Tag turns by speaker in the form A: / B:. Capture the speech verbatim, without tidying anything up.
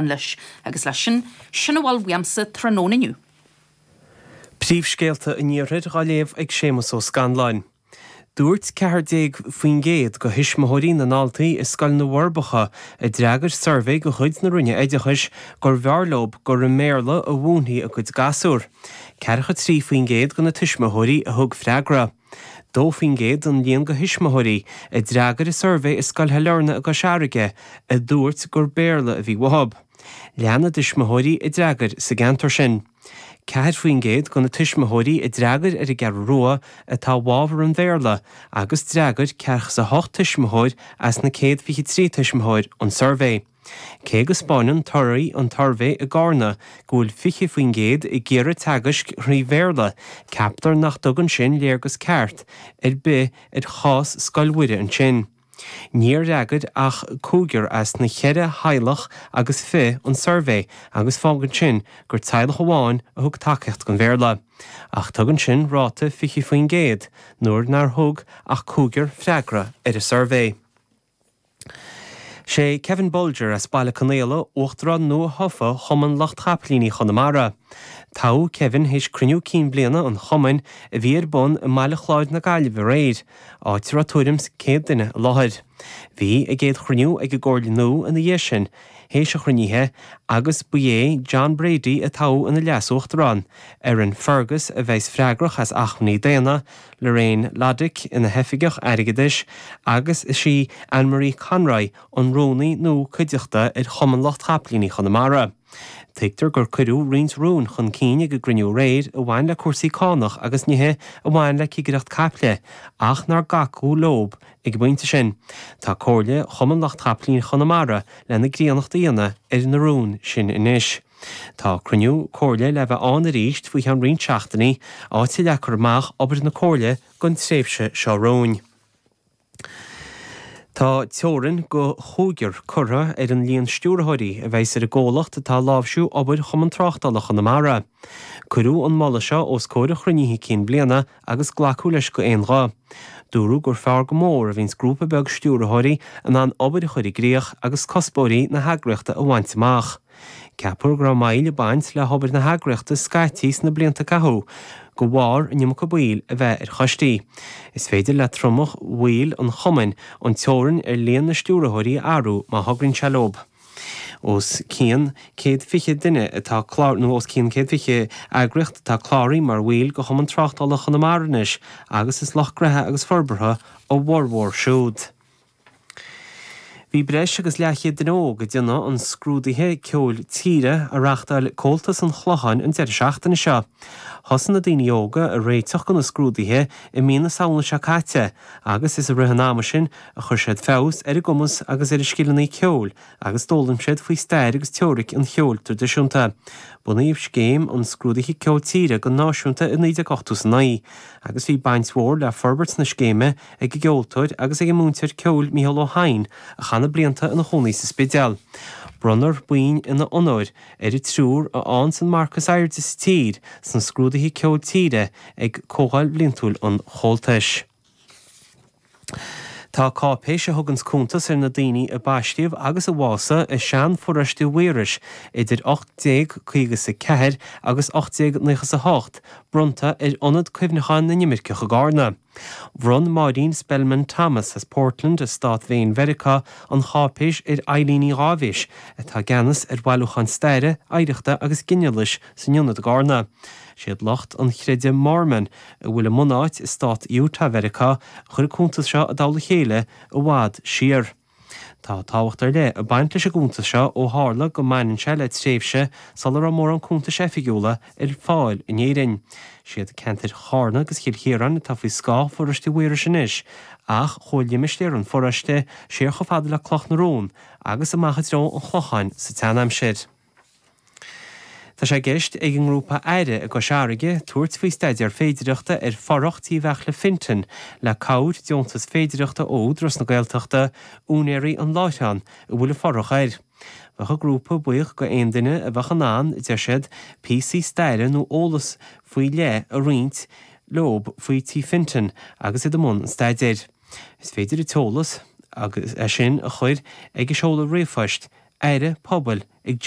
A: Leis agus leis sin sin a bhfuil uaimse tráthnóna inniu.
B: Príomhscéalta an Iarthair á léamh ag Séamus Ó Scanláin. Dúirt ceathair déag faoin gcéad de thuismitheoirí na ndaltaí i Scoil na bhForbacha a d'fhreagair suirbhé de chuid na Roinne Oideachais gur bhfearr leo gur i mBéarla a mhúinfí a gcuid gasúr. Ceathracha trí faoin gcéad de na tuismitheoirí a thug freagra. Dó faoin gcéad an líon de thuismitheoirí a d'fhreagair an suirbhé i Scoil Shailearna i gCois Fharraige a dúirt gur Béarla a bhí uathu. Leath na dtuismitheoirí a d'fhreagair sa gceantar sin. Ceathair faoin gcéad de na tuismitheoirí a d'fhreagair ar an gCeathrú Rua atá i bhfabhar an Bhéarla agus d'fhreagair ceathracha a hocht tuismitheoir as na céad fiche trí tuismitheoir an suirbhé. Cé go spáineann torthaí an tsuirbhé i gCarna go bhfuil fiche faoin gcéad ag iarraidh teagaisc thrí Bhéarla, ceaptar nach dtugann sin léargas ceart ar bith ar chás Scoil Mhuire ansin. Níor fhreagair ach cúigear as na ceithre theaghlach agus fiche an suirbhé agus fágann sin gur teaghlach amháin a thug tacaíocht don Bhéarla. Ach tugann sin ráta fiche faoin gcéad nuair nár thug ach cúigear freagra ar an suirbhé. Sé Kevin Bolger as Baile Conaola uachtarán nua-thofa Chumann Lucht Chapaillíní Chonamara. Toghadh Kevin théis cruinniú cinn bliana an chumainn a bhí ar bun i mBaile Chláir na Gaillimhe aréir, áit a raibh tuairim is céad duine i láthair. Bhí a gcéad chruinniú ag an gcomhairle nua ina dhiaidh sin, théis an chruinnithe, agus ba é John Brady a toghadh ina leas-uachtarán, Erin Fergus a bheas freagrach as acmhainní daonna, Lorraine Loddick ina hoifigeach airgeadais agus is í Anne-Marie Conroy an rúnaí nua cuideachta ar Chumann Lucht Chapaillíní Chonamara. Tuigtear gur cuireadh roinnt rún chun cinn ag an gcruinniú aréir a bhain le cúrsaí cánach agus nithe a bhain le cigireacht caiple, ach nár glacadh leo ag an bpointe sin. Tá Comhairle Chumann Lucht Chapaillíní Chonamara lena gcríonnacht a dhéanamh ar na rúin sin anois. Tá cruinniú comhairle le bheith ann arís faoi cheann roinnt seachtainí, áit a leagfar amach obair na comhairle don tréimhse seo romhainn. Tá teorainn go chúigear curtha ar an líon stiúrthóirí a bheas ar an gcomhlacht atá ag láimhsiú obair Chumann Tráchtála Chonamara. Cuireadh an moladh seo os comhair an chruinnithe cinn bliana agus glacadh leis go aon ghuth. Dúradh gur fearr go mór a bhíonns grúpa beag stiúrthóirí in ann obair a chur i gcrích agus cuspóirí na heagraíochta a bhaint amach. Ceapadh go raibh moill ag baint le hobair na heagraíochta scaití sna blianta a caitheadh, de bharr an iomarca baill a bheith ar choistí. Is féidir le tromlach bhaill an chumainn an teorainn ar líon na stiúrthóirí a athrú má thograíonn sé leo. Os cionn céad fiche duine atá clár nó os cionn céad fiche eagraíocht atá cláraithe mar bhaill de Chumann Tráchtála Chonamara anois agus is lucht gnoithe agus forbartha a bhformhór siúd. Bhí breis agus leathchéad duine óg ag déanamh an scrúdaithe ceoil tíre a reáchtáil Comhaltas an Chlocháin an deireadh seachtaine seo. Thosaigh na daoine óga ag réiteach do na scrúduithe i mí na Samhna seo caite agus is i rith an ama sin a chuir siad feabhas ar a gcumas agus ar a scileanna ceoil agus d'fhoghlaim siad faoi stair agus teoiric an cheoil traidisiúnta. Bunaíodh scéim an scrúdaithe ceoil tíre go náisiúnta i naoi déag ochtó is a naoi agus bhí baint mhór le forbairt na scéime ag an gceoltóir agus ag an múinteoir ceoil Mícheál Ó hEidhin a chaith na blianta ina chónaí sa Spidéal. Bronnfar boinn ina onóir ar an triúr a fhaigheanns an marc is airde sa tír sna scrúduithe ceoil tíre ag Comhdháil Bhliantúil an Chomhaltais. Tá cáipéis a thuganns cuntas ar na daoine a baistíodh agus a bhásaigh i sean-pharóiste Mhaorais idir ocht déag caoga is a ceathair agus ocht déag naocha is a hocht bronnta ar Ionad Cuimhneacháin na nImirceach i gCarna. Bhronn Máirín Spellman Thomas as Portland i Stát Mhaine Mheiriceá an cháipéis ar Eileen Ní Dháibhis atá i gceannas ar bhailiúchán staire, oidhreachta agus ginealais san ionad i gCarna. Siad lucht an chreidimh Mormon a bhfuil a mbunáit i stát Utah Mheiriceá a chuir an cuntas seo i dtoll a chéile i bhfad siar. Tá tábhacht ar leith ag baint leis an gcuntas seo ó tharla go mbaineann sé le tréimhse sula raibh mórán cuntais oifigiúla ar fáil in Éirinn. Siad ceantair Charna agus Chill Chiaráin atá faoi scáth pharóiste Mhaorais anois, ach chuaigh limistéar an pharóiste siar chomh fada le Cloch na Rón agus amach i dtreo an Chlocháin sa tseanaimsir. Tá sé i gceist ag an ngrúpa Aire i gCois Fharraige tabhairt faoi staidéar féidireachta ar fothrach Tí Bheartla Fintan le cabhair deontas féidireachta ó Údarás na Gaeltachta, úinéirí an láithreáin a bhfuil an fothrach air. Bheadh an grúpa buíoch go aon duine a bheadh in ann, a deir siad, píosaí staire nó eolas faoi leith a roinnt leo faoi Tí Fintan agus iad i mbun an staidéir. Is féidir an t-eolas agus é sin a chur ag an seoladh ríomhphoist Aire Pobail ag